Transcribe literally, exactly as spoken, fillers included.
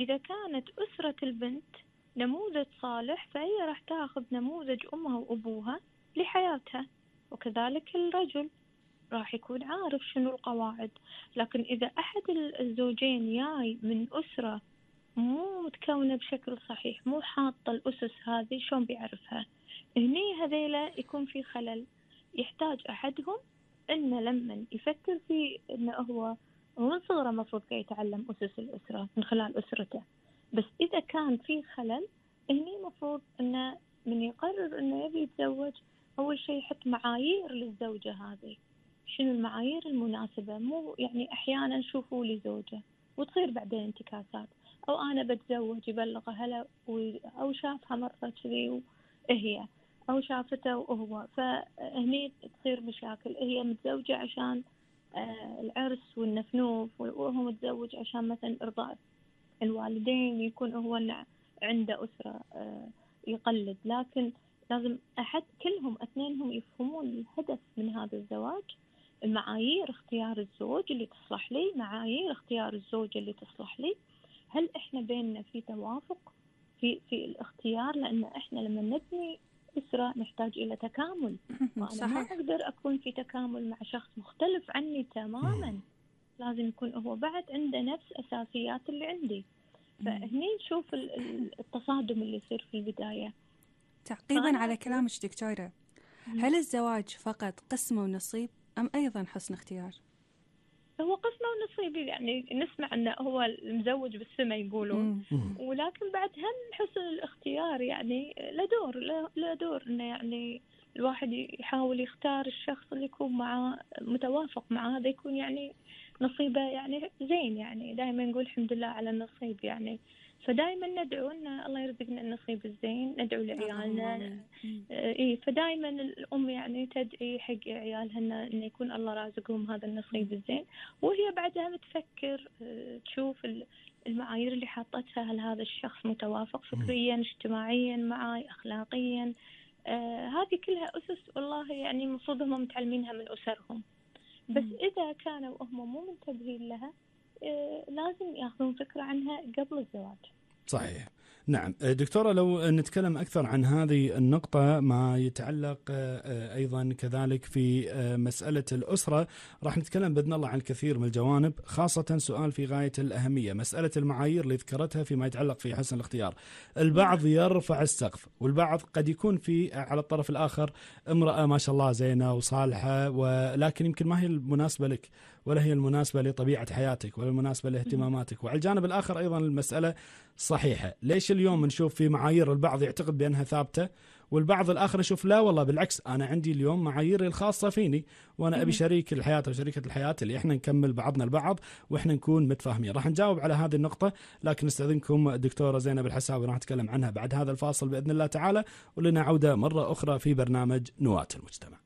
إذا كانت أسرة البنت نموذج صالح فهي راح تاخذ نموذج أمها وأبوها لحياتها، وكذلك الرجل راح يكون عارف شنو القواعد. لكن إذا أحد الزوجين جاي من أسرة مو متكونة بشكل صحيح، مو حاطة الأسس هذه، شلون بيعرفها؟ هني هذيلا يكون في خلل. يحتاج أحدهم إنه لما يفكر في إنه هو ومن صغره مفروض يتعلم أسس الأسرة من خلال أسرته. بس إذا كان في خلل هني مفروض إنه من يقرر إنه يبي يتزوج أول شيء يحط معايير للزوجة هذه. شنو المعايير المناسبة؟ مو يعني أحيانا شوفوا لي زوجة وتصير بعدين انتكاسات، أو أنا بتزوج يبلغ أهله أو شافها مرة كذي وهي أو شافته وهو، فهني تصير مشاكل. هي متزوجة عشان آه العرس والنفنوف، وهو متزوج عشان مثلا إرضاء الوالدين، يكون هو عنده أسرة آه يقلد. لكن لازم أحد كلهم اثنينهم يفهمون الهدف من هذا الزواج، المعايير اختيار الزوج اللي تصلح لي، معايير اختيار الزوجة اللي تصلح لي. هل إحنا بيننا في توافق في في الاختيار؟ لأن إحنا لما نبني أسرة نحتاج إلى تكامل، وأنا ما أقدر أكون في تكامل مع شخص مختلف عني تماما. لازم يكون هو بعد عنده نفس أساسيات اللي عندي. فهني نشوف التصادم اللي يصير في البداية. تعقيبا على كلامك دكتورة، هل الزواج فقط قسمة ونصيب أم أيضا حسن اختيار؟ هو قسمة ونصيب، يعني نسمع أنه هو المزوج بالسماء يقولون، ولكن بعد هم حسن الاختيار يعني له دور له دور إنه يعني الواحد يحاول يختار الشخص اللي يكون معه متوافق مع هذا، يكون يعني نصيبه يعني زين. يعني دائما نقول الحمد لله على النصيب يعني. فدائما ندعو ان الله يرزقنا النصيب الزين، ندعو لعيالنا. اي فدائما الام يعني تدعي حق عيالها ان يكون الله رازقهم هذا النصيب الزين، وهي بعدها تفكر تشوف المعايير اللي حاطتها، هل هذا الشخص متوافق فكريا اجتماعيا معي اخلاقيا. آه هذه كلها اسس والله يعني المفروض هم متعلمينها من اسرهم. بس اذا كانوا هم مو منتبهين لها آه لازم ياخذون فكرة عنها قبل الزواج. صحيح. نعم دكتورة، لو نتكلم أكثر عن هذه النقطة ما يتعلق أيضا كذلك في مسألة الأسرة، راح نتكلم بإذن الله عن الكثير من الجوانب، خاصة سؤال في غاية الأهمية، مسألة المعايير اللي ذكرتها فيما يتعلق في حسن الاختيار. البعض يرفع السقف، والبعض قد يكون في على الطرف الآخر امرأة ما شاء الله زينة وصالحة، ولكن يمكن ما هي المناسبة لك، ولا هي المناسبة لطبيعة حياتك، ولا المناسبة لاهتماماتك. وعلى الجانب الآخر أيضا المسألة صحيحة. ليش اليوم نشوف في معايير البعض يعتقد بأنها ثابتة، والبعض الآخر يشوف لا والله بالعكس، أنا عندي اليوم معاييري الخاصة فيني، وأنا أبي شريك الحياة وشريكة الحياة اللي إحنا نكمل بعضنا البعض وإحنا نكون متفاهمين. راح نجاوب على هذه النقطة، لكن نستأذنكم دكتورة زينب الحساوي، راح نتكلم عنها بعد هذا الفاصل بإذن الله تعالى، ولنا عودة مرة أخرى في برنامج نواة المجتمع.